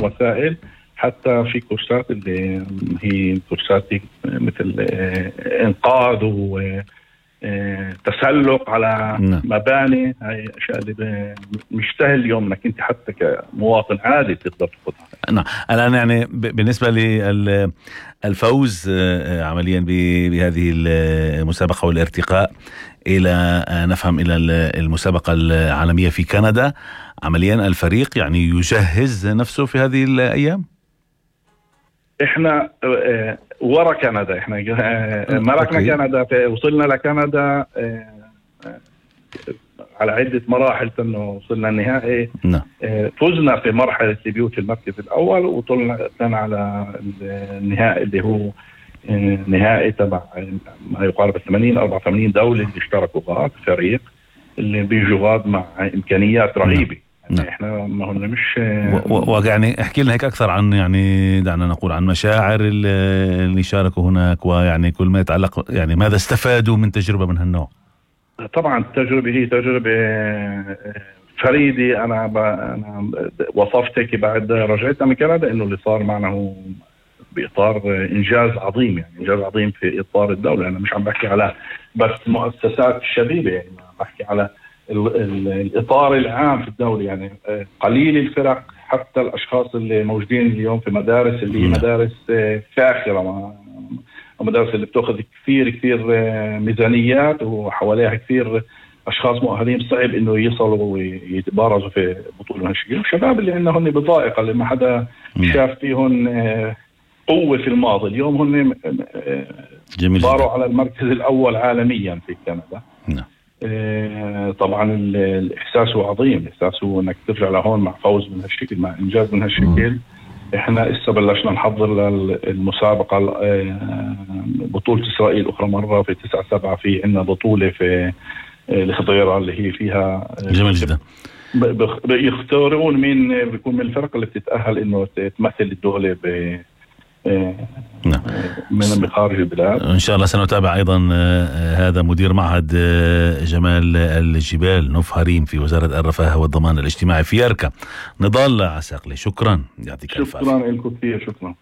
وسائل، حتى في كورسات اللي هي كورسات مثل إنقاذ وتسلق على مباني. هاي أشياء اللي مش سهل اليوم انك انت حتى كمواطن عادي تقدر تاخذها. نعم. الآن يعني بالنسبة للفوز عمليا بهذه المسابقة والارتقاء إلى نفهم إلى المسابقة العالمية في كندا، عمليا الفريق يعني يجهز نفسه في هذه الأيام. احنا ورا كندا، احنا ملكنا كندا، وصلنا لكندا على عدة مراحل انه وصلنا النهائي. فزنا في مرحلة ليبيو في المركز الأول، وطلنا على النهائي اللي هو نهائي تبع ما يقارب 84 دولة اللي اشتركوا غاد فريق اللي بيجوا غاد مع إمكانيات رهيبة. يعني احنا ما هن مش ويعني احكي لنا هيك أكثر عن، يعني دعنا نقول عن مشاعر اللي شاركوا هناك، ويعني كل ما يتعلق يعني ماذا استفادوا من تجربة من هالنوع. طبعا التجربة هي تجربة فريدة. أنا وصفتك بعد رجعتنا من كندا إنه اللي صار معنا هو بإطار إنجاز عظيم، يعني إنجاز عظيم في إطار الدولة. أنا مش عم بحكي على بس مؤسسات الشبيبة، يعني بحكي على الإطار العام في الدولة. يعني قليل الفرق، حتى الأشخاص اللي موجودين اليوم في مدارس اللي هي مدارس فاخرة، ومدارس اللي بتأخذ كثير ميزانيات وحواليها كثير أشخاص مؤهلين، صعب إنه يصلوا ويتبارزوا في بطولة هالشكل. الشباب اللي عندنا هن بضائقة، اللي ما حدا شاف فيهم قوة في الماضي، اليوم هن باروا على المركز الأول عالميا في كندا. طبعا الإحساس هو عظيم، الإحساس هو إنك ترجع لهون مع فوز من هالشكل، مع إنجاز من هالشكل. إحنا إسا بلشنا نحضر للمسابقة بطولة إسرائيل أخرى مرة في 9/7. في عندنا بطولة في الخضيرة اللي هي فيها جميل جدا. بيختارون مين بيكون من الفرق اللي بتتأهل إنه تمثل الدولة من خارج البلاد. إن شاء الله سنتابع أيضا. هذا مدير معهد جمال الجبال نوف هريم في وزارة الرفاه والضمان الاجتماعي في يركا، نضال عساقلي. شكرا، يعطيك الف عافية. شكرا لكم كثير. شكرا.